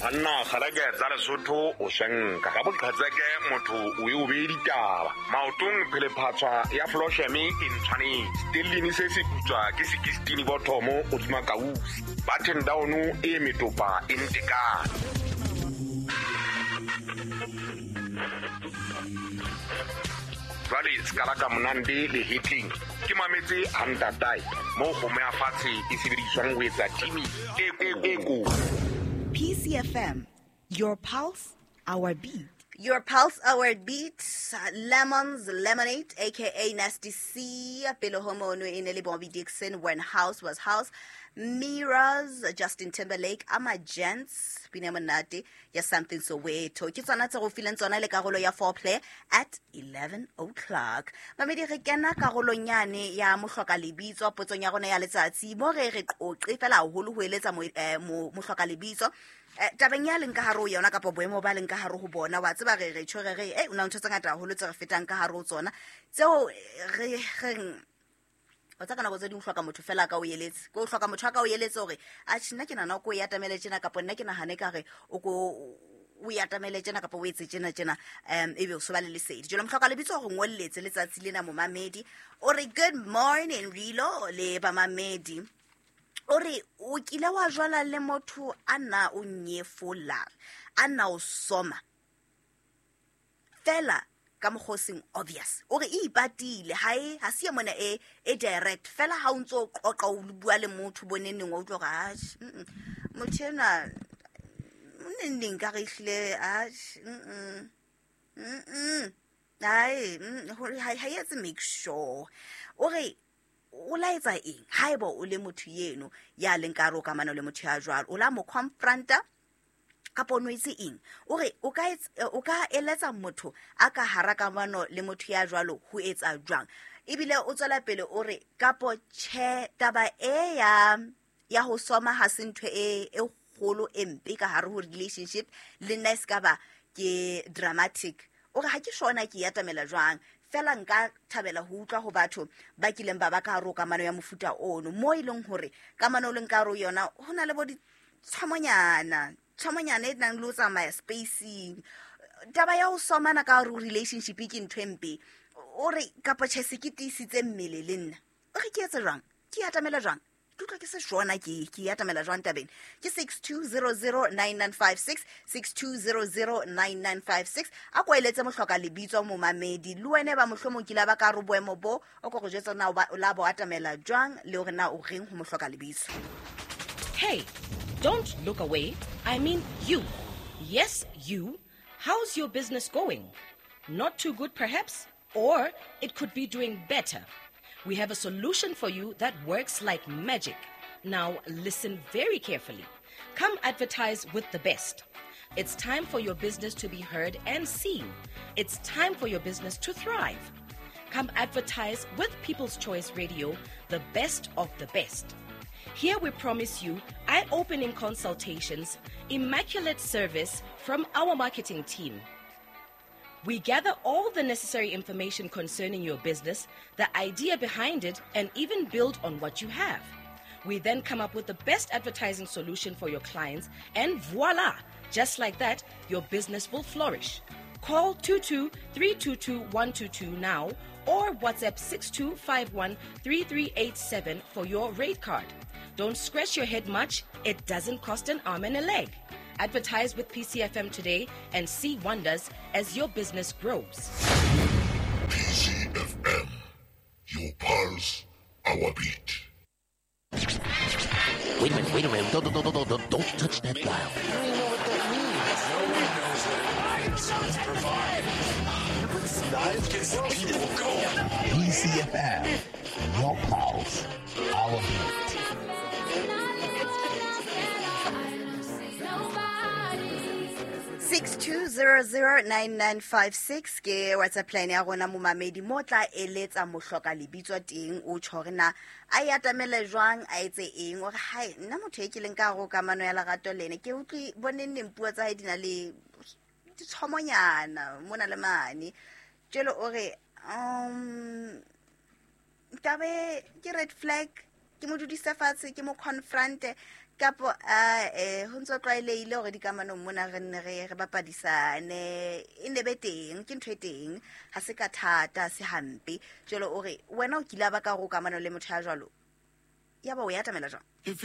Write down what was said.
Banna kgaleke tsa Lesotho o senka ka boqhetseke motho o e o bee ditaba maotong phelephatshwa ya flosheme e ntshwanetse stellini se se putswa ke sekistini bothomo godima kausi button down e metopa e ntekane. Jwale sekala ka monande le hitling ke mametse hantatae mo kgomo ya fatshe e sebediswang ho etsa timi e ko. PCFM, your pulse, our beat. Your pulse, our beat, Lemons Lemonade, aka Nasty C, Pele Homono e ne le Bobby Dixon, When House Was House, Mirrors, Justin Timberlake, Ama Gents, pina monate ya Something Soweto. Ke tsona tse go fileng tsona le karolo ya foreplay at 11 o'clock. Mamedi re kena karolong yane ya mohloka lebitso potsong ya rona ya letsatsi mo re re qoqe fela haholo ho eletsa mohloka lebitso. Tabeng ya leng ka hare ho yona kapa boemo ba leng ka hare ho bona, wa tseba re re tjho re re o na ntho tse ngata haholo tse re fetang ka hare ho tsona tseo re reng o tsa ka nako tse ding o hloka motho fela ka o eletse, ko o hloka motho a ka o eletse hore atjhe nna ke nahana o ko e atamele tjena kapa nna ke nahane ka re o ko o e atamele tjena kapa o etse tjena tjena, ebe o so ba le lesedi. Jwale mohloka lebitso hore ngolletse letsatsi lena momamedi o re good morning Rilo le bamamedi. O re o kile wa jwala le motho a na o nyefola, a na o soma fela ka mokgwa o seng obvious. O re e ipatile, ha e ha se mona e direct fela ha o ntso o qoqa o bua le motho bo neng wa utlwa hore atjhe, motho enwa o neng neng ka re ehlile atjhe, hai, ha e etse make sure. O re o laetsa eng haeba o le motho yeno ya leng ka hare ho kamano le motho ya jwalo, o la mo confronta kapa o no etse eng? O re o ka eletsa motho a ka hara kamano le motho ya jwalo ho etsa jwang? Ebile o tswela pele o re kapo tjhe taba e ya ho soma ha se ntho e kgolo e mpe ka hare ho relationship le nna e se ka ba ke dramatic. O re ha ke shona ke atamela jwang fela nka thabela ho utlwa ho batho ba kileng ba ba ka hare ho kamano ya mofuta ono mo e leng hore kamano o leng ka hare ho yona ho na le bo ditshwamonyana tshwamonyana e nang le ho tsamaya spacing. Taba ya ho somana ka hare ho relationship ke ntho e mpe. O re kapa tjhe se ke tiisitse mmele le nna. O re ke etse jwang? Ke atamela jwang? Ke utlwa ke se shona ke atamela jwang tabeng? Ke 62009956, 62009956. A ko eletse mohloka lebitso momamedi le wena ba mohlomong kile ba ka re boemo bo o ko go jwetsa na o la bo atamela jwang le hore na o reng ho mohloka lebitso. Hey, don't look away. I mean you. Yes, you. How's your business going? Not too good perhaps, or it could be doing better. We have a solution for you that works like magic. Now listen very carefully. Come advertise with the best. It's time for your business to be heard and seen. It's time for your business to thrive. Come advertise with People's Choice Radio, the best of the best. Here we promise you eye-opening consultations, immaculate service from our marketing team. We gather all the necessary information concerning your business, the idea behind it, and even build on what you have. We then come up with the best advertising solution for your clients, and voila! Just like that, your business will flourish. Call 22-322-122 now or WhatsApp 6251-3387 for your rate card. Don't scratch your head much. It doesn't cost an arm and a leg. Advertise with PCFM today and see wonders as your business grows. PCFM, your pulse, our beat. Wait a minute, don't touch that dial. I don't even know what that means. No one knows what it means. It gets the people going. PCFM, your pulse, our beat. 62009956 ke WhatsApp line ya rona momamedi mo tla eletsa mohloka lebitso teng o tjho hore na a e atamele jwang a etse eng. O re hai nna motho e ke leng ka hare ho kamano ya lerato le ene ke utlwe boneng neng puo tsa hae di na le ditshomonyana mona le mane. Jwale o re tabe ke red flag Ke mo dudise fatshe, ke mo confronte, kapo a ho ntso tlwaelehile hore dikamanong mona re nne re bapadisane, e ne be teng, ke ntho e teng, ha se ka thata, se hampe. Jwale o re wena o kile ba ka hore o kamano le motho ya jwalo, ya ba o e atamela jwang?